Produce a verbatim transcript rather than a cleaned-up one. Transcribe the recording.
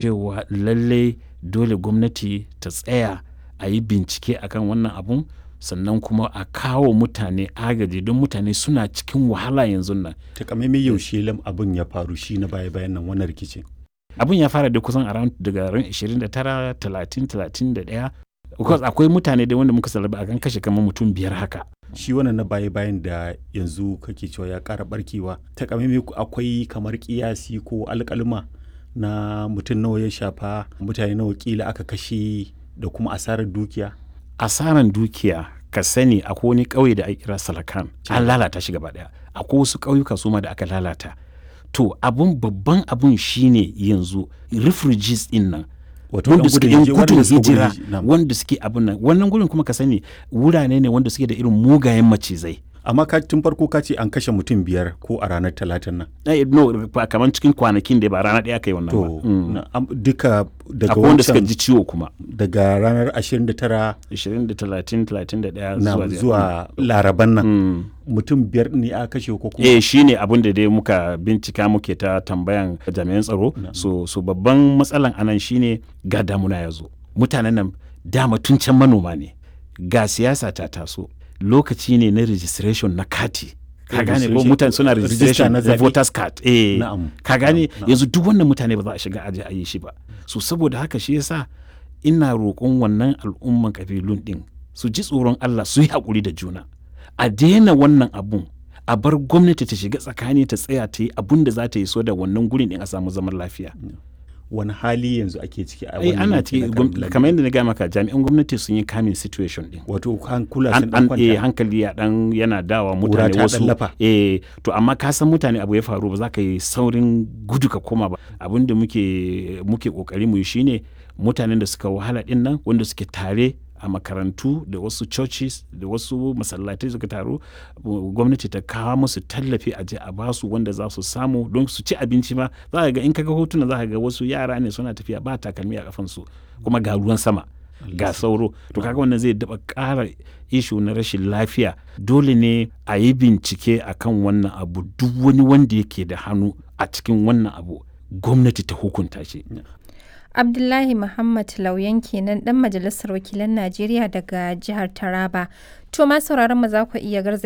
Cewa lallai dole gwamnati ta tsaya a yi bincike akan wannan abun, sannan kuma a kawo mutane agaji don mutane suna cikin wahala yanzun nan. Takamaimai yaushe lam abin ya faru shi na baya bayan nan wannan rikicin? Abun ya fara da kusan around daga ran ashirin da tara, talatin, talatin da ɗaya. Because akwai mutane dai wanda muka salaba akan kashe kamar mutum biyar haka. Shi wannan na baya bayan da yanzu kake cewa ya ƙara ɓarkewa, takamaimai akwai kamar ƙiyasi ko alƙaluma na mutum nawa ya shafa, mutane nawa ƙila aka kashe da kuma asarar dukiya? Asaran dukiya, ka sani akwai wani ƙauye da ake kira Salakan, an lalata shi gaba ɗaya. Akwai wasu ƙauyuka suma da aka lalata. To abun babban abun shine yanzu refugees ɗin nan, Wato wanda ɗan suke gudun yan hijira, gudun waɗanda suka hijira, gudun na'am. wanda suke abun nan. Wannan gurin kuma ka sani wurare ne wanda suke da irin mugayen macizai. Amma ka tun farko ka ce an kashe mutum biyar ko a ranar Talatan nan. Eh, no, ba kamar cikin kwanakin da ba rana ɗaya aka yi wannan ba. To Mm. na- am- duka daga Akwai wanda suka wancan ji ciwo kuma. daga ranar ashirin da tara ashirin da talatin, talatin da ɗaya na zuwa zuwa Laraban nan Mm. mutum biyar ne aka kashe ko kuma? Eh, shi ne abin da dai muka bincika muke ta tambayan jami'an tsaro. So, so babban matsalan anan shine ga damuna ya zo. Mutanen nan dama tun can manoma ne. Ga siyasa ta taso. Lokaci ne na registration na kati. Ka gane ko Registration- mutane suna register registration na na zaɓe. voters card. Eh, Na'am. ka gane Na'am. yanzu duk wannan mutane ba za a shiga aje a yi shi ba. So saboda haka shi yasa ina roƙon wannan al'umman kabilun ɗin su ji tsoron Allah, su yi haƙuri da juna. A daina wannan abun, a bar gwamnati ta shiga tsakani, ta tsaya ta yi abun da za ta yi so da wannan gurin ɗin a samu zaman lafiya. Wani hali yanzu ake ciki a Ai wannan ana yanki na ciki Karin gwam- Lamido? kamar yadda na gaya maka, jami'an gwamnati sun yi kamin situation ɗin. Wato hankula sun An, ɗan an eh, kwanta. hankali ya dan yana dawa Ƙura mutane ta ɗan wasu lafa. eh to amma ka san mutane abu ya faru ba za ka yi saurin gudu ka koma ba. Abin da muke muke kokari mu yi shine mutanen da suka wahala din nan, wanda suke tare a makarantu da wasu churches da wasu masallatai suka taru, gwamnati ta kawo musu tallafi, a je a basu wanda za su samu don su ci abinci ma. Za ka ga in ka ga hotuna, za ka ga wasu yara ne suna tafiya ba takalmi a kafansu, kuma ga ruwan sama, ga sauro. To kaga wannan zai daba ƙara ishu na rashin lafiya. Dole ne a yi bincike akan wannan abu. Duk wani wanda yake da hannu a cikin wannan abu, gwamnati ta hukunta shi. Abdullahi Muhammad Lauyan kenan, dan majalisar wakilan Najeriya daga jihar Taraba. To ma sauraron mu, za ku iya garzaya